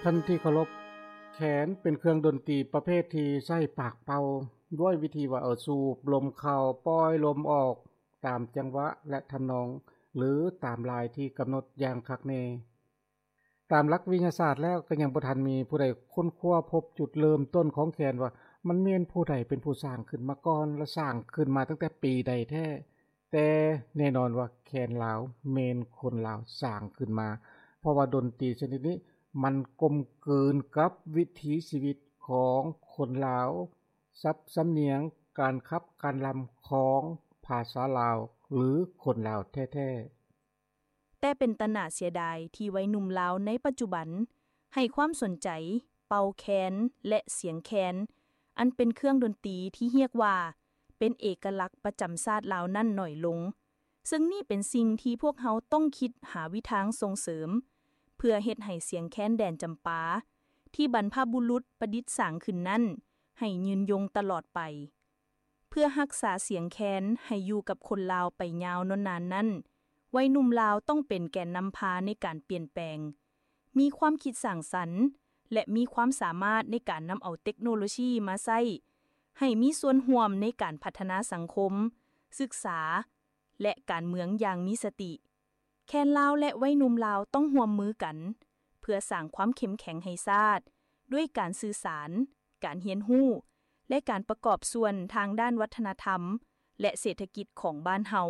ທ່ານທີ່ເຄົາລົບ, ແຄນເປັນເຄື່ອງດົນຕີປະເພດທີ່ໃຊ້ປາກເປົ່າ ດ້ວຍວິທີວ່າເອົາສູບລົມເຂົ້າ ປ່ອຍລົມອອກ ຕາມຈັງຫວະ ແລະ ທຳນອງ ຫຼື ຕາມລາຍທີ່ກຳນົດຢ່າງຄັກແນ່. ຕາມຫຼັກວິທະຍາສາດແລ້ວ ກໍຍັງບໍ່ທັນມີຜູ້ໃດຄົ້ນຄວ້າພົບຈຸດເລີ່ມຕົ້ນຂອງແຄນວ່າ ມັນແມ່ນຜູ້ໃດເປັນຜູ້ສ້າງຂຶ້ນມາກ່ອນ ແລະ ສ້າງຂຶ້ນມາຕັ້ງແຕ່ປີໃດແທ້. ແຕ່ແນ່ນອນວ່າແຄນລາວແມ່ນຄົນລາວສ້າງຂຶ້ນມາ ເພາະວ່າດົນຕີຊະນິດນີ້ມັນກົມກືນກັບວິຖີຊີວິດຂອງຄົນລາວ, ສັບສຳນຽງ, ການຂັບການລຳຂອງພາສາລາວ ຫຼື ຄົນລາວແທ້ໆ. ແຕ່ເປັນຕາໜ້າເສຍດາຍທີ່ໄວໜຸ່ມລາວໃນປັດຈຸບັນໃຫ້ຄວາມສົນໃຈເປົ່າແຄນ ແລະ ສຽງແຄນ ອັນເປັນເຄື່ອງດົນຕີທີ່ຮຽກວ່າເປັນເອກະລັກປະຈຳຊາດລາວນັ້ນໜ້ອຍລົງ, ເຊິ່ງນີ້ເປັນສິ່ງທີ່ພວກເຮົາຕ້ອງຄິດຫາວິທາງສົ່ງເສີມ ເພື່ອເຮັດໃຫ້ສຽງແຄນແດນຈຳປາ ທີ່ບັນພະບຸລຸດປະດິດສ້າງຂຶ້ນນັ້ນ ໃຫ້ຍືນຍົງຕະຫຼອດໄປ. ເພື່ອຮັກສາສຽງແຄນໃຫ້ຢູ່ກັບຄົນລາວໄປຍາວນອນນານນັ້ນ, ໄວໜຸ່ມລາວຕ້ອງເປັນແກນນຳພາໃນການປ່ຽນແປງ, ມີຄວາມຄິດສ້າງສັນ ແລະ ມີຄວາມສາມາດໃນການນຳເອົາເຕັກໂນໂລຊີມາໃຊ້ ໃຫ້ມີສ່ວນຮ່ວມໃນການພັດທະນາສັງຄົມ, ສຶກສາ ແລະ ການເມືອງຢ່າງມີສະຕິ. ແຄນລາວ ແລະ ໄວໜຸ່ມລາວຕ້ອງຮ່ວມມືກັນ ເພື່ອສ້າງຄວາມເຂັ້ມແຂງໃຫ້ຊາດ ດ້ວຍການສື່ສານ, ການຮຽນຮູ້ ແລະ ການປະກອບສ່ວນທາງດ້ານວັດທະນະທຳ ແລະ ເສດຖະກິດຂອງບ້ານເຮົາ.